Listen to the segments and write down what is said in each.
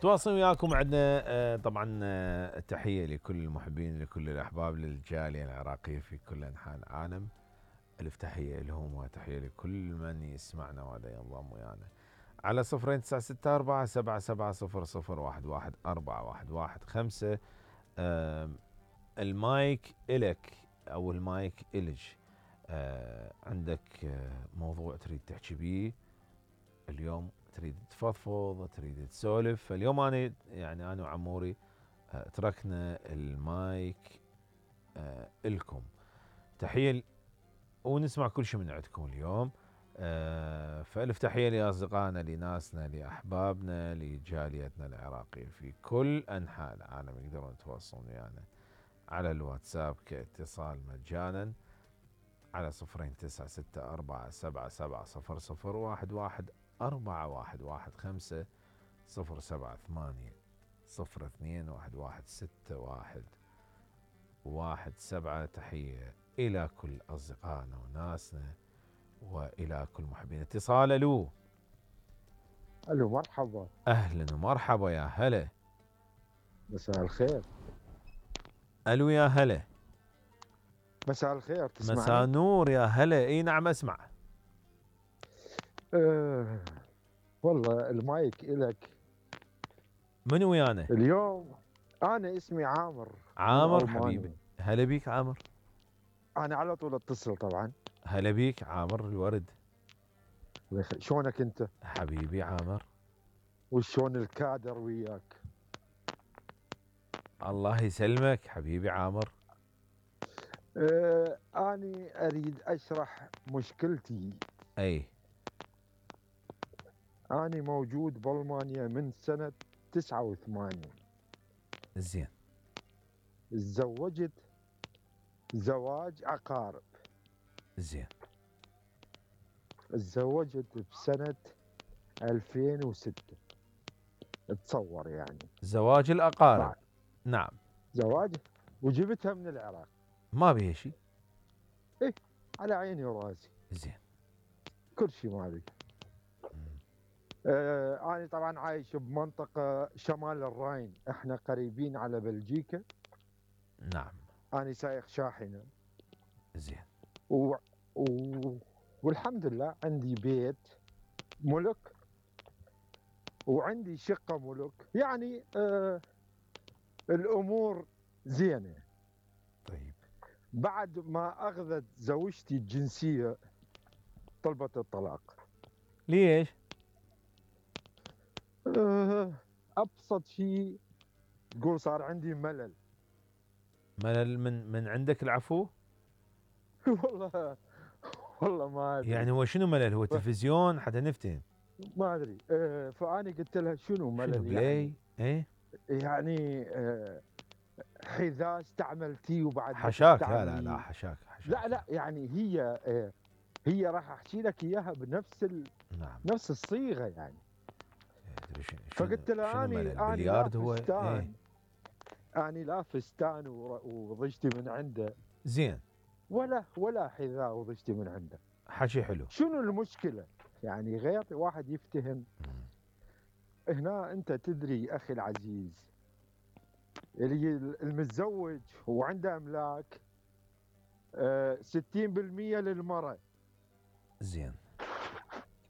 تواصل وياكم. عندنا طبعا تحيه لكل المحبين، لكل الاحباب، للجاليه العراقيه في كل انحاء العالم. الف تحيه لهم وتحيه لكل من يسمعنا وهذا ينضم ويانا على 0964770011 المايك إلك أو المايك إلج. عندك موضوع تريد تحكي بيه اليوم، تريد تفضفض، تريد تسولف. اليوم أنا وعموري تركنا المايك إلكم. تحية ونسمع كل شيء من عندكم اليوم. فألف تحية لأصدقائنا، لناسنا، لأحبابنا، لجاليتنا العراقية في كل أنحاء العالم. يقدرون يتواصلون ويانا على الواتساب كاتصال مجانا على 02-964-777-015. تحية إلى كل أصدقائنا وناسنا وإلى كل محبين. اتصال. ألو مرحبا. أهلا ومرحبا، يا هلا. مساء الخير. ألو يا هلا. مساء الخير، تسمعني؟ مساء نور يا هلا. اي نعم اسمع. والله المايك إلك. من ويانا اليوم؟ أنا اسمي عامر. عامر حبيبي. هلا بيك عامر. أنا على طول أتصل طبعا. هلا بيك عامر الورد. شلونك أنت؟ حبيبي عامر. وشلون الكادر وياك؟ الله يسلمك حبيبي عامر. أنا أريد أشرح مشكلتي. أي. أنا موجود بألمانيا من سنة 89. زين. تزوجت زواج عقارب. زين. تزوجت بسنة 2006. تصور يعني زواج الأقارب. نعم. زواج وجبتها من العراق. ما بيها شيء. ايه على عيني وراسي. زين. كل شيء ما بي. أنا طبعا عايش بمنطقة شمال الراين، احنا قريبين على بلجيكا. نعم. أنا سايق شاحنة. زين. والحمد لله عندي بيت ملك وعندي شقة ملك، يعني الأمور زينة. طيب. بعد ما أخذت زوجتي الجنسية طلبت الطلاق. ليش؟ أبسط شيء تقول صار عندي ملل. ملل من عندك العفو؟ والله ما أدري. يعني هو شنو ملل؟ هو تلفزيون حتى نفتهم. ما أدري. فأنا قلت لها شنو ملل؟ شنو بلاي؟ يعني ايه يعني حذاء استعملتيه وبعد حشاك. لا حشاك. لا يعني هي راح احكي لك اياها بنفس نعم. نفس الصيغه يعني. فقلت لها اني بلياردو هو فستان. اني لا فستان وضجتي من عنده. زين. ولا حذاء وضجتي من عنده. حكي حلو. شنو المشكله؟ يعني غير واحد يفتهم. هنا انت تدري اخي العزيز، اللي المتزوج وعنده املاك 60% للمرأة. زين.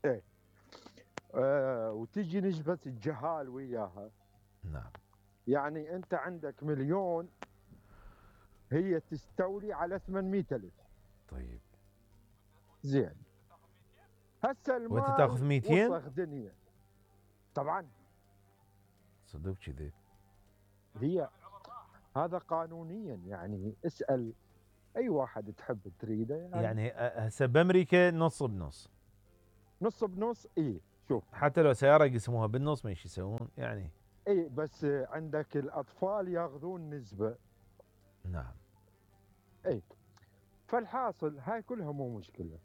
ايه. وتجي نسبة الجهال وياها. نعم. يعني انت عندك مليون، هي تستولي على 800,000. طيب. زين. هسه المال وانت تاخذ 200؟ وسخ دنيا. طبعا. صدق كذي؟ هي هذا قانونيا، يعني اسأل اي واحد تحب تريده. يعني هسه بامريكا نص بنص. نص بنص. اي شوف، حتى لو سياره يقسموها بالنص ما يسوون يعني. اي بس عندك الاطفال ياخذون نسبه. نعم. اي. فالحاصل هاي كلها مو مشكله.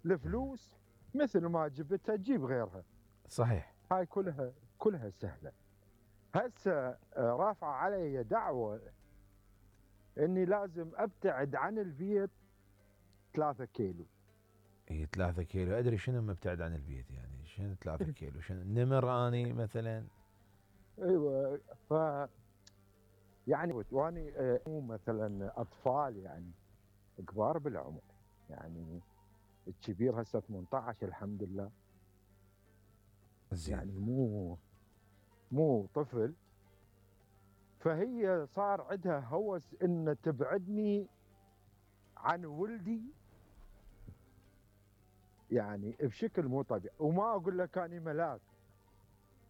الفلوس مثل ما جبتها تجيب غيرها. صحيح. هاي كلها سهله. هسه رافعه علي دعوه اني لازم ابتعد عن البيت 3 كيلو. اي 3 كيلو. ادري شنو مبتعد عن البيت يعني. شنو 3 كيلو؟ شنو نمر اني مثلا؟ ايوه. ف يعني واني مو مثلا اطفال يعني، كبار بالعمر، يعني الكبير هسه 18 الحمد لله، زين. يعني مو طفل. فهي صار عندها هوس ان تبعدني عن ولدي، يعني بشكل مو طبيعي. وما اقول لك اني ملاك،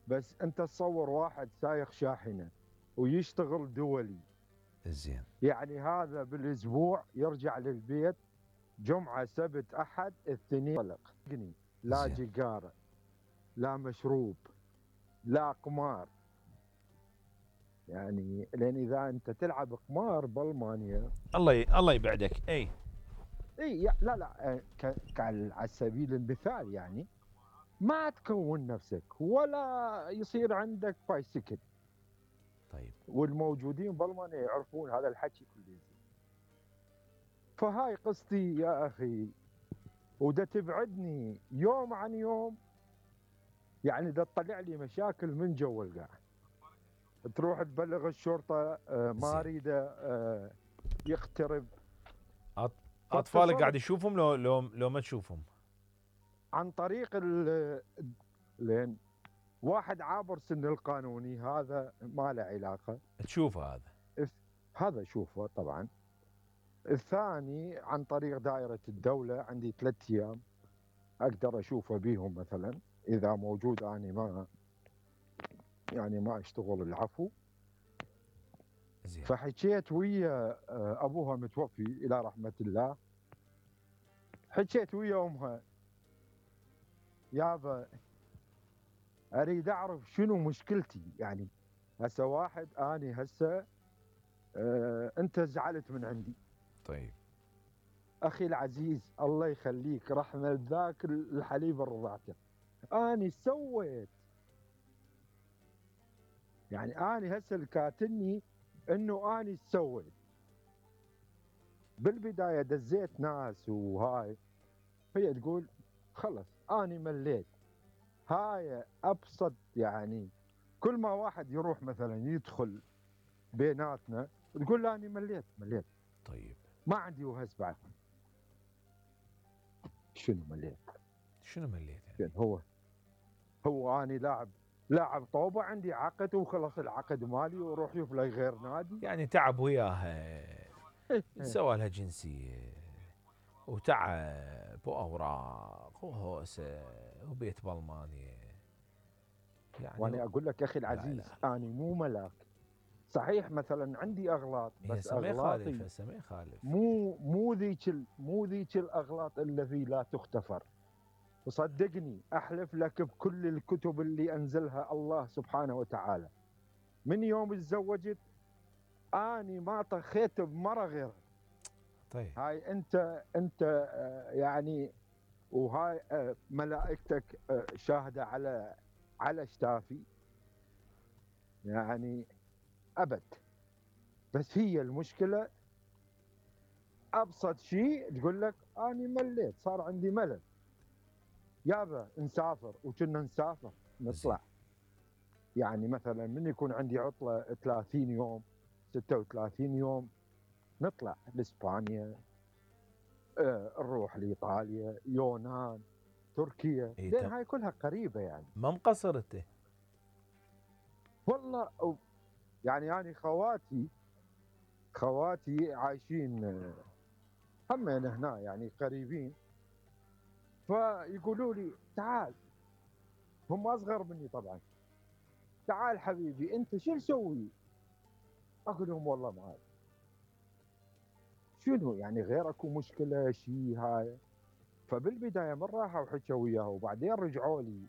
بس انت تصور واحد سايق شاحنه ويشتغل دولي، زين. يعني هذا بالاسبوع يرجع للبيت جمعه سبت احد الاثنين طلق، لا زين. جيجاره، لا مشروب، لا قمار. يعني لان اذا انت تلعب قمار بالمانيا، الله يبعدك. اي. اي لا لا، على سبيل المثال يعني ما تكون نفسك ولا يصير عندك بايسكل. طيب. والموجودين بالمانيا يعرفون هذا الحكي كله. فهاي قصتي يا اخي، ودا تبعدني يوم عن يوم، يعني دا تطلع لي مشاكل من جو القاع. تروح تبلغ الشرطه ما زين. اريده يقترب. اطفالك قاعد فاتصلت يشوفهم لو ما تشوفهم؟ عن طريق لين واحد عابر سن القانوني هذا ما له علاقه، تشوفه هذا؟ هذا شوفه طبعا. الثاني عن طريق دائره الدوله، عندي 3 ايام اقدر اشوفه بيهم مثلا اذا موجود، اني ما يعني ما اشتغل العفو. زين. فحكيت ويا ابوها متوفي الى رحمه الله، حكيت ويا امها، يابا اريد اعرف شنو مشكلتي. يعني هسه واحد اني هسه انت زعلت من عندي. طيب. اخي العزيز الله يخليك، رحمه ذاك الحليب الرضعته، اني سويت. يعني اني هسه الكاتني انه اني سويت. بالبدايه دزيت ناس وهاي، هي تقول خلص اني مليت. هاي ابسط يعني، كل ما واحد يروح مثلا يدخل بيناتنا تقول له اني مليت طيب. ما عندي وهس بعد. شنو مليت؟ شنو مليت يعني؟ يعني هو اني لاعب طوبه، عندي عقد وخلص العقد مالي وروح يفلي غير نادي. يعني تعب وياها، سوى لها جنسية وتعب وأوراق وهوسة وبيت بالمانيا يعني. وانا اقول لك اخي لا العزيز لا، اني مو ملاك. صحيح مثلا عندي اغلاط، هي بس هسه ما يخالف، اغلاطي هسه ما يخالف. مو ذيك الاغلاط التي لا تغتفر. وصدقني احلف لك بكل الكتب اللي انزلها الله سبحانه وتعالى، من يوم تزوجت اني ما طخيت بمره غيرها. طيب. هاي انت يعني، وهاي ملائكتك شاهده على شتافي، يعني ابد. بس هي المشكله ابسط شيء تقول لك اني مليت، صار عندي ملل. يابا نسافر، وكنا نسافر زين. نطلع. يعني مثلا من يكون عندي عطله 30 يوم 36 يوم نطلع لاسبانيا، نروح لايطاليا، يونان، تركيا، إيه لان هاي كلها قريبه يعني. ما مقصر انت؟ والله يعني انا خواتي عايشين همين هنا يعني قريبين. فيقولوا لي تعال، هم اصغر مني طبعا، تعال حبيبي انت شو نسوي؟ اقول لهم والله ما أعرف. شنو يعني غير اكو مشكله شيء هاي؟ فبالبدايه من راحوا وحكوا وياه وبعدين رجعوا لي